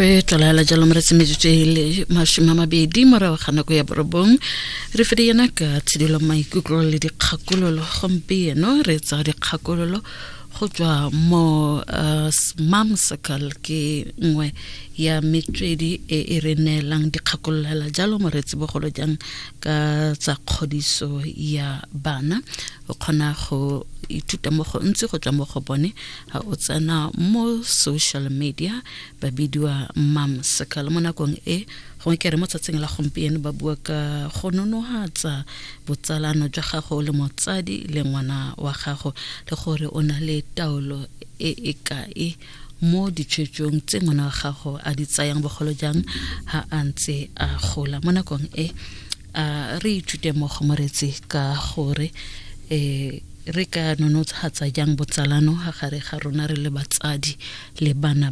Re tlolaela jalo moretsi metsotso e le 20 morago ga nako ya 9. Re fede yena ka tshidilo maikutlo le dikgakololo. Gompieno re tsa dikgakololo go tswa mo Mom Circle, ke nngwe ya metswedi e e re neelang dikgakololela jalo moretsi, bogolo jang ka tsa kgodiso ya bana. O kgona go ithuta mo gontsi go tswa mo go bone ha o tsena mo social media, ba bidiwa Mom Circle. Mo nakong e gongwe ke re mo tsatsing la gompieno ba bua ka go nonohatsa botsalano jwa gago le motsadi le ngwana wa gago, le gore o na le taolo e e kae mo ditshwetsong tse ngwana wa gago a di tsayang, bogolo jang ha a ntse a gola. Mo nakong e a re ithute mo go moretsi ka gore re ka nonotshatsa jang botsalano ga gare ga rona re le batsadi le bana.